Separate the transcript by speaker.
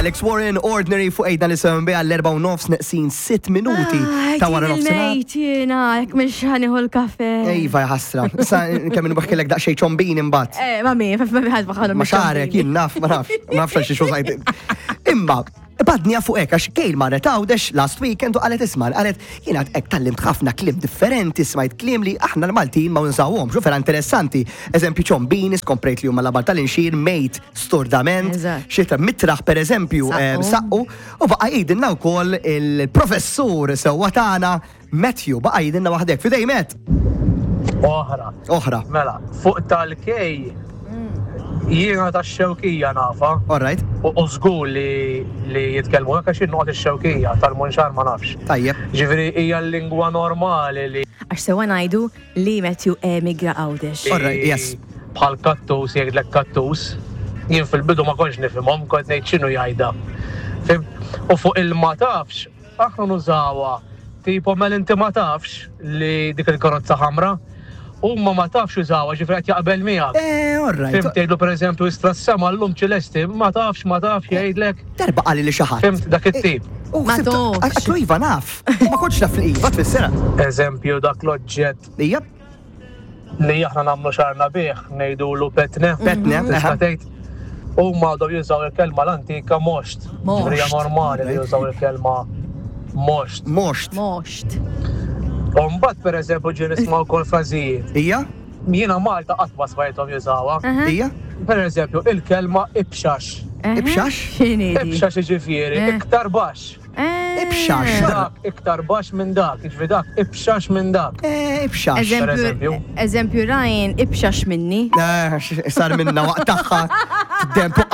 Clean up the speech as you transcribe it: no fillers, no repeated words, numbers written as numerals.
Speaker 1: Alex Warren, Ordinary fuq ejda li sewn biha l-4 u nofs neqsin 6 minuti ta' wara nofsinhar.
Speaker 2: Mejt jiena, jekk mhux ħanieħu l-kafe.
Speaker 1: Iva ħasra. Issa kemm inbaħkilek daqsxejn ċombini mbagħad.
Speaker 2: Eh, mami, mami ħadd baħħalhom.
Speaker 1: Ma xarek, jien naf, ma nafx, ma nafx għal xi xużajt. Imma, badnija fuq hekk għax Kejl marret Għawdex last weekend u qalet isma' qalet jiena hekk tallimt ħafna kliem differenti, smajt kliem li aħna l-Maltin ma nużawhomx u vera interessanti. Eżempju ċombini, skomprejt li huma labar tal-inxir, mejt, stordament,
Speaker 2: Eżatt.
Speaker 1: xita mitraħ per eżempju, eh,
Speaker 2: Saqqu.
Speaker 1: saqqu, u baqa' jgħidilna wkoll il-professur sewwa tagħna Matthew, baqa' jgħidilna waħdek. Fidej Matt!
Speaker 3: Oħra.
Speaker 1: Oħra.
Speaker 3: Mela, fuq tal-kej, jiena ta' xewkija nafa.
Speaker 1: All right.
Speaker 3: U u żgur li li jitkellmu hekk għax jien noqgħod ix-xewkija tal-munxar ma nafx.
Speaker 1: Tajjeb.
Speaker 3: Ġifieri hija l-lingwa normali li
Speaker 2: Għax sewa ngħidu li Matthew emigra Għawdex.
Speaker 1: All right, yes.
Speaker 3: Bħal kattus jgħidlek kattus. Jien fil-bidu ma kontx nifhimhom, kont ngħid x'inhu jgħidha. Fim? U fuq il-ma tafx, aħna nużawha tipo mela inti ma tafx li dik il-karozza ħamra. Huma ma tafx jużawha, ġifieri qed jaqbel miegħek.
Speaker 1: Eh, all right.
Speaker 3: Fim tgħidlu pereżempju istra s-sema llum ċilesti, ma tafx, ma tafx jgħidlek.
Speaker 1: Darba qali li xi ħadd.
Speaker 3: Fimt dak it-tip.
Speaker 1: U
Speaker 2: Ma
Speaker 1: ħsibtu-
Speaker 2: tafx.
Speaker 1: Għatlu iva naf. Ma kontx naf li iva tfissera.
Speaker 3: Eżempju dak l-oġġett
Speaker 1: Ija,
Speaker 3: li aħna nagħmlu xarna bih, ngħidulu petne.
Speaker 1: Petne,
Speaker 3: Tista'
Speaker 1: aha.
Speaker 3: tgħid. Huma għadhom jużaw il-kelma l-antika moxt.
Speaker 2: Moxt.
Speaker 3: Ġifieri hija normali li jużaw il-kelma moxt.
Speaker 1: Moxt.
Speaker 2: Moxt.
Speaker 3: U mbagħad pereżempju ġie nisma' wkoll frażijiet.
Speaker 1: Ija,
Speaker 3: Jiena Malta qatt ma smajthom jużawha.
Speaker 1: ija,
Speaker 3: Pereżempju il-kelma ibxax.
Speaker 1: Ibxax?
Speaker 2: X'inhi di?
Speaker 3: Ibxax jiġifieri
Speaker 2: Eh.
Speaker 3: iktar baxx.
Speaker 2: Eh.
Speaker 1: Ibxax.
Speaker 3: Dak iktar baxx minn dak, jiġifieri dak ibxax minn dak.
Speaker 1: Eh, ibxax.
Speaker 2: Eżempju,
Speaker 3: eżempju.
Speaker 2: eżempju Ryan, ibxax minni.
Speaker 1: Eh, Sar minna waqt tagħha. Dem